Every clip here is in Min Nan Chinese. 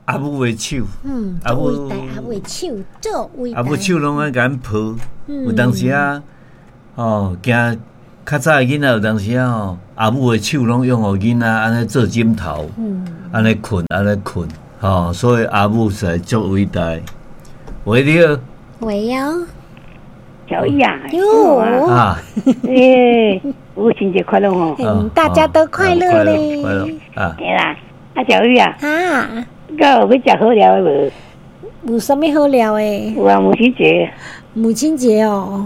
阿母的手，嗯，阿母足偉大，阿母的手足偉大。阿母手攏愛共阮抱，有當時啊，哦，驚較早的囡仔有當時啊吼，阿母的手攏用予囡仔按呢做枕頭，按呢睏，按呢睏，吼，所以阿母實在足偉大。喂，你好。喂哦。小易啊。喲。啊。欸，母親節快樂哦。嗯，大家都快樂咧。快樂啊。對啦，啊小玉啊。啊。閣有欲食好料的無？有啥物好料的？有啊，母親節。母親節哦。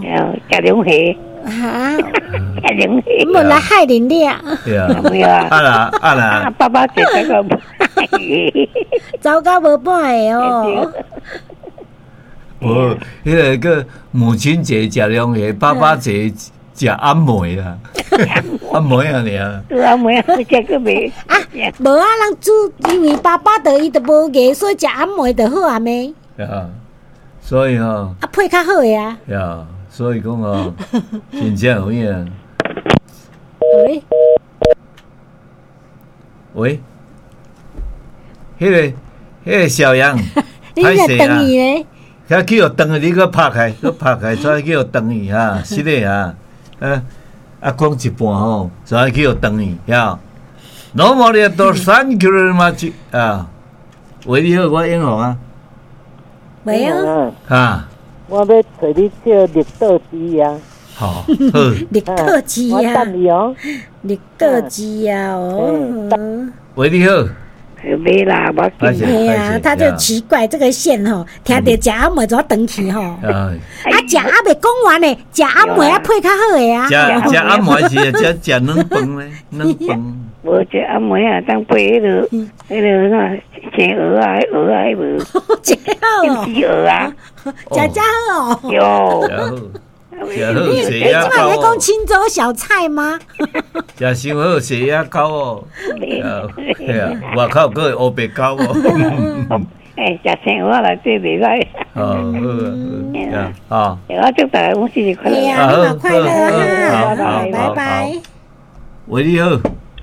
食龍蝦。哈？食龍蝦。無來害恁倆。對啊。沒有啊。啊啦啊啦。爸爸節這個。走到無半个哦。無，彼個叫母親節食龍蝦，爸爸節食暗糜啦，暗糜啊爾。對暗糜啊，食閣袂。啊，無啊，人煮，因為爸爸著伊著無牙，所以食暗糜就好啊咩？啊，所以吼。啊，配較好的啊。呀，所以講哦，真正有影。喂。喂，彼個小楊，你若轉去咧？遐去予斷去，你閣拍開，閣拍開，煞去予斷去哈，是的啊，啊講一半吼，煞去予斷去，呀。No more thank you very much 啊，喂，你好，我英雄啊。喂啊。哈。我欲揣你唱《綠豆枝》啊。好，好。綠豆枝啊。我等你哦。綠豆枝啊，哦。喂，你好。沒啦，無緊。對啊，他就奇怪這個線吼，聽著食暗糜怎斷去吼？啊，食還未講完呢，食暗糜啊配較好的啊。食食暗糜是食食軟飯咧，軟飯。無食暗糜啊，當配彼個彼個啥生蚵仔，蚵仔彼無。食好哦。金絲蚵仔。食遮好哦。有。食好你食啊這擺咧講清粥小菜嗎？食傷好食仔狗哦，對啊，外口閣會烏白狗哦。欸，食生蚵仔內底袂歹。哦，好啊，啊。我祝大家母親節快樂。對啊，你嘛快樂哈，拜拜。喂，你好。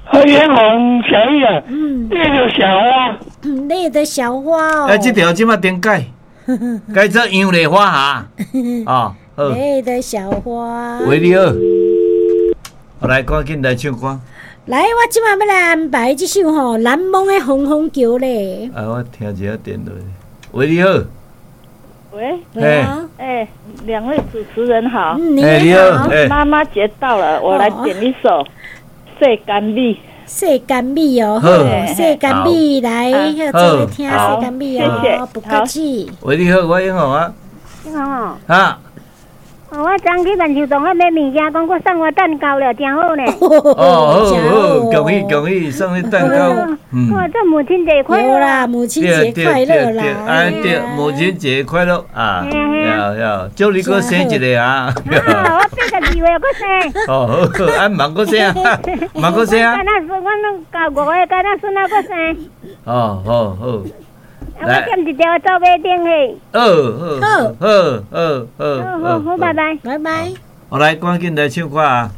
何元紅小玉啊，嗯，那個小花，你的小花哦。欸，這條這馬點改，改做楊麗花哈，啊。你的小花。喂，你好，來，趕緊來唱歌。來，我這馬欲來安排這首吼《難忘的風風橋》咧。啊，我聽一下電話。喂，你好。喂。喂。哎，兩位主持人好。嗯，你好。媽媽節到了，我來點一首《世間美》。世間美哦，好，世間美來，做伙聽世間美哦，不客氣。喂，你好，我英雄啊。英雄哦。啊。哦，我昨去萬壽堂遐買物件，講閣送我蛋糕了，真好呢。哦，好好，恭喜恭喜，送你蛋糕。嗯。我祝母親節快樂啦！母親節快樂啦！哎對，母親節快樂啊！要要，祝你閣生一個啊！啊，我82歲閣生。哦，好，啊，嘛閣生，嘛閣生。敢若孫，我攏教五個，敢若孫仔閣生。哦，好好。啊！我踮一條走馬燈嘿。好，好，好，好，好，好，好，拜拜，拜拜。我來，趕緊來唱歌啊！